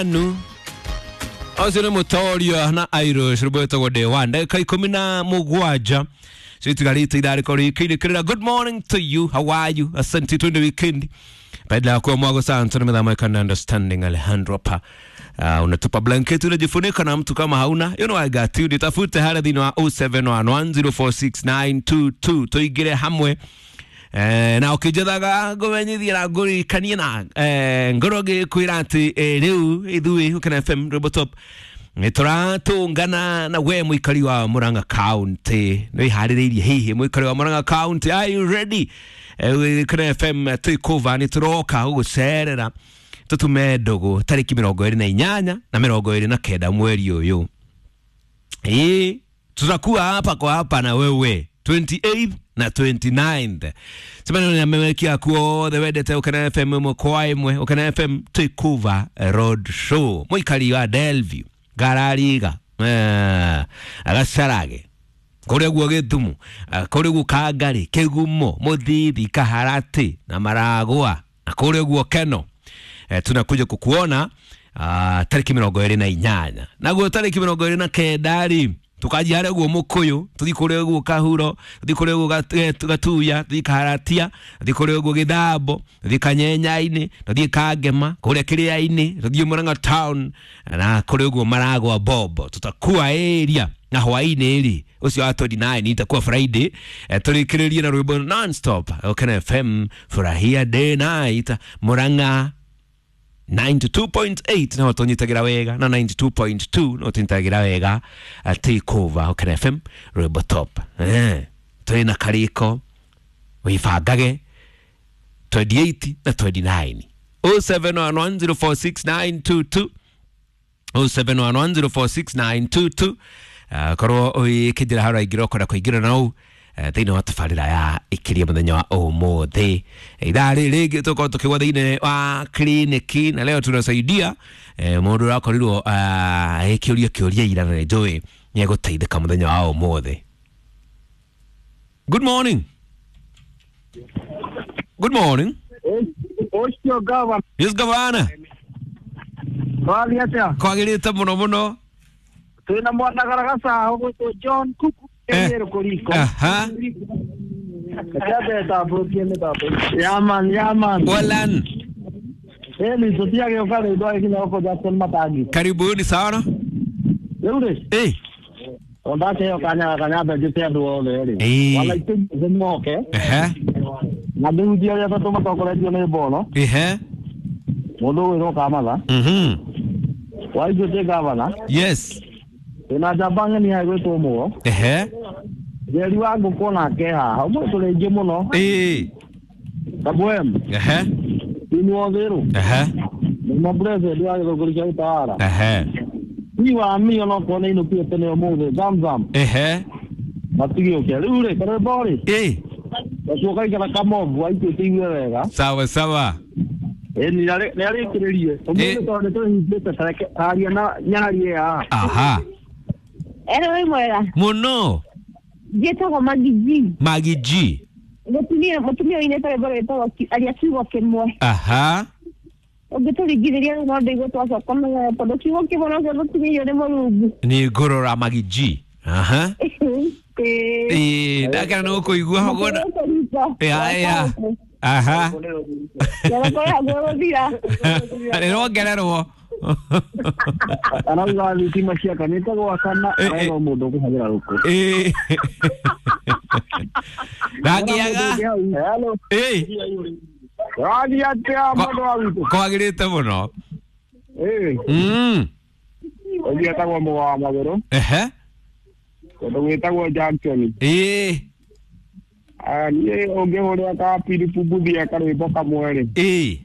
Manu ũcio nĩ mũtoria na Irish rwĩmbo wĩtagwo Day One. Ndagĩka 17 citigarĩte ithaa rĩkorwo rĩkĩrĩkĩrĩra. Good morning to you, how are you? Asante, twende weekend baada ya kuwa mwago sana tuna midhamu ya understanding Alejandro pa unatupa blanketi unajifunika na mtu kama hauna, you know I got you. Nitafute harĩa thĩinĩ wa 0711046922 tũingĩre hamwe. Na ũkĩnjethaga ngũmenyithie na ngũririkanie na ngorwo ngĩkwĩra atĩ rĩu ithuĩ Ũkena FM Rwĩmbo Top nĩtũratũngana na we mũikari wa Murang'a County. Nĩwĩharĩrĩirie hihi mũikari wa Murang'a County, are you ready? Ũkena FM twĩkũva nĩtũroka gũgũcerera tũtume ndũgũ tarĩki 28 na 29 mweri ũyũ. Ĩĩ, tutakuwa hapa kwa hapa na wewe 28th na 29th. Semana na memekia kuothe wendete Ũkena FM ĩmwe kwa ĩmwe. Ũkena FM Takeover Road Show. Mũikari wa Delview, Ngarariga, Gacarage, kũrĩa guo Gĩthumo, kũrĩa guo Kangari, Kĩgumo, Mũthithi, Kaharati na Maragwa na kũrĩa guo Keno. Tunakuja kukuona tarĩki 28 naguo tarĩki 29 rĩ tukanjia harĩa guo Mũkũyũ, tũthiĩ kũrĩa guo Kahuro, tũthiĩ kũrĩa guo Gatuya, tũthiĩ Kaharatia, tũthiĩ kũrĩa guo Gĩthambo, tũthiĩ Kanyenyainĩ, tũthiĩ Kangema, kũrĩa Kĩrĩa-inĩ, tũthiĩ Murang'a town na kũrĩa guo Maragwa Bobo. Tutakuwa area na hwaĩ-inĩ rĩ ũcio wa 29 itakuwa Friday, tũrĩkĩrĩrie na rwĩmbo non-stop Ũkena FM furahia day night Murang'a 92.8 no tũnyitagĩra wega na 92.2 no tũnyitagĩra wega Takeover Ũkena FM Rwĩmbo Top. Tũrĩ na karĩko wĩbangage 28 na 29 0711046922 0711046922. Korwo ũgĩkĩnjĩra harĩa ũraingĩra ũkwenda kũingĩra na ũũ thĩinĩ wa tabarĩra ya ĩkĩria mũthenya wa ũmũthĩ. Ithaa rĩrĩ rĩngĩ tũkorwo tũkĩgwa thĩinĩ wa kliniki na leo tunasaidia mũndũ ũrakorirwo agĩkĩũria kĩũria ira na nĩnjũĩ nĩegũteithĩka mũthenya wa ũmũthĩ. Good morning. Good morning. Ũcio gavana. Yes, gavana. Twathiĩ atĩa? Kwagĩrĩte mũno mũno. Twĩna mwana garagaca ũgwĩtwo John Kuku Nyeri kũriko. Aha. Reke tambũrũkie mĩtambo. Yaman, yaman. Walan. Ĩni tũtiagĩũka rĩu twagĩkinya gũkũ Jackson Matangi. Karibuni sana. Rĩu rĩ, o ndakĩheo kanya gaka nyambe njĩte andũ othe rĩ. Wala itĩ moke. Na ndĩhunjie arĩa atatũ matongoretio nĩ Mboro. Mũndũ ũgwĩtwo Kamatha. Waitũ gavana. Yes. Twĩna njamba ng'eni haha ĩgwĩtwo Mũgo. Njeri wa ngũkũ nake haha. Ũmũthĩ tũrĩ aingĩ mũno. Kabwem. Ini Wotherũ. Mũma president wa gĩthũngũri kĩa Utawala. Ni wa mi onokorwo nĩ ainũkire tene ũmũthĩ Zamzam. Matigĩũke. Rĩu rĩ, karwĩmbo rĩ. Gacuo kaigana kamobu aitũ igue wega. Sawa sawa. Ĩni nĩ arĩkĩrĩrie. Ũmũthĩ tondũ nĩ tũhingĩte tareke aria na nyarie haha. Aha. Ero wĩ mwega. Mũno. Njĩtagwo Maggie G. Maggie G. Mũtumia ũinĩte rwĩmbo rwĩtagwo aria kiugo kĩmwe. Aha. Ũngĩtũringithĩria rĩu no ndĩigue twacoka mũno tondũ kiugo kĩmwe nokĩo tũtumĩirio nĩ Mũrungu. Nĩ ngũrora Maggie G. Aha. Ĩĩ, ndakena nĩ gũkũigua ũguo. Ya ya. Aha. Gũthira. Nĩrongererwo. Arauga thitima ciakanĩte gwakana arauga mũndũ ũkũhagĩra rũkũ. Ĩĩ. Ndangĩaga. Hello. Ĩĩ. Wathiĩ atĩa mũndũ wa witũ? Kwagĩrĩte mũno. Ĩĩ. Ũngĩ etagwo Mũgo wa Magũrũ. Kũndũ gwĩtagwo Junction. Ĩĩ. Niĩ ũngĩhũrĩra ka Philip Mbuthia karwĩmbo kamwe rĩ. Ĩĩ.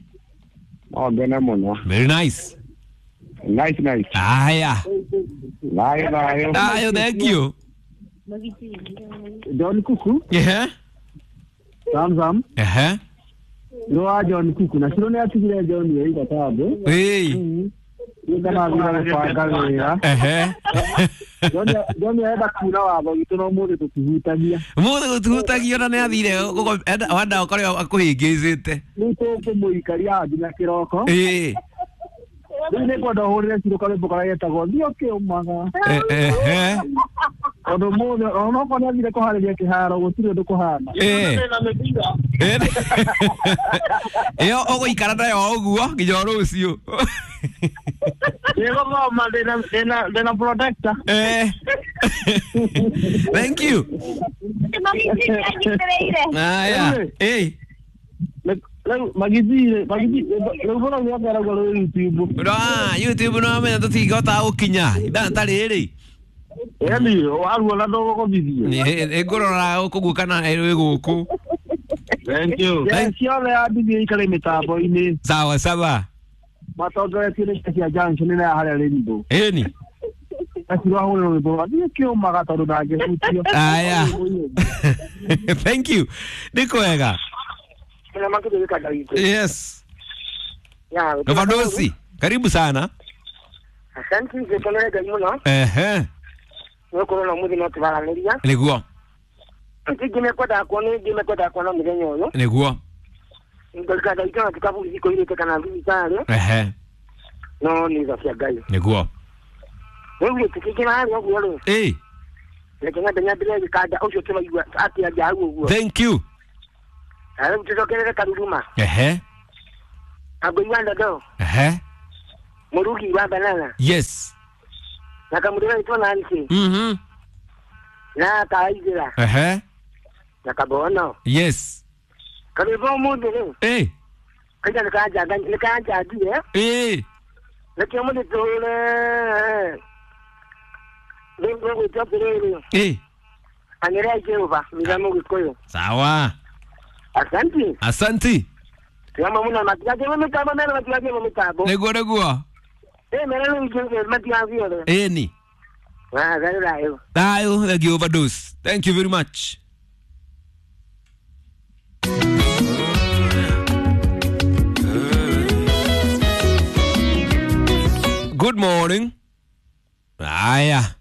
No ngene mũno. Very nice. Nice, nice. Aya. Thayũ, thayũ. Thayũ, thank you. John Kuku. Zamzam. Nĩ wa John Kuku na Ciro nĩ atigire John wĩra tambũ. Ĩĩ. Nĩ ndarathire gũbanga wĩra. John arenda kuura watho witũ no ũmũthĩ tũtihutagia. Mũthĩ gũtihutagio na nĩ athire wenda ũkorwo akũhĩngĩcĩte. Rĩu tũkũmũikaria nginya kĩroko. Ĩĩ. Rĩu nĩngwenda ũhũrĩre Ciro karwĩmbo karĩa getagwo thiĩ ũkĩũmaga. Ehe. Tondũ mũthĩ onokorwo nĩathire kũharĩria kĩharo gũtirĩ ũndũ kũhana. Ĩyo ũgũikara nayo o ũguo nginya o rũciũ. Nĩgũthoma ndĩna protector. Thank you. Aya. Rĩu magithire rĩu bũrũri wothe arauga rwĩ YouTube. YouTube no menya tũtingĩhota gũkinya ithaa ta rĩrĩ. Yaani waruona ndũgũgũthithie. Ngũrora gũkũ kana ĩrĩ gũkũ. Thank you. Ciothe yambithie ikare mĩtambo-inĩ. Sawa sawa. Matongoretie nĩ cia junction na harĩa Rainbow. Ĩni. Acirwo ahũrĩrwo rwĩmbo rwa thiĩ kĩũmaga tondũ ndangĩhutio. Aya. Thank you. Nĩ kwega. Yes. Novadosi, karibu sana. Asante ngikenere Ngai mũno. Ehe. Nĩgũkorwo na ũmũthĩ no tũraranĩria. Nĩguo. Ngĩmekwendaga kuona ngĩmekwendaga kuona mũthenya ũyũ. Nĩguo. Ngorikana itona tukabu iko kana thibitarĩ. Ehe. No nĩ tha cia Ngai. Nĩguo. Rĩu tũkĩingĩra harĩa ũguo rĩ. Reke nyambe nyambĩrĩrie gĩkanda ũcio tũraigua akĩaria hau ũguo. Thank you. Na rĩu tũcokerere Karuruma. Ehe. Angũi wa ndondo. Ehe. Mũrugi wa banana. Yes. Na kamũndũ gaitwo Nancy. Mhm. Na kaigĩra. Ehe. Na kabono. Yes. Karwĩmbo ũmũthĩ rĩ. Kaija nĩkanjangie. Nĩkĩo mũthĩ tũhũre. Rĩu ngũgwĩtwo atĩrĩrĩ. Anĩrĩai Jehova mitha Mũgĩkũyũ. Sawa. Asante. Asante. Tiamo mũno matigathie mĩtambo mera matigathie mĩtambo. Nĩguo nĩguo. Mera rĩu matigathiĩ othe. Ĩni. Thayũ thayũ. Thayũ, thank you overdose. Thank you very much. Good morning. Aya.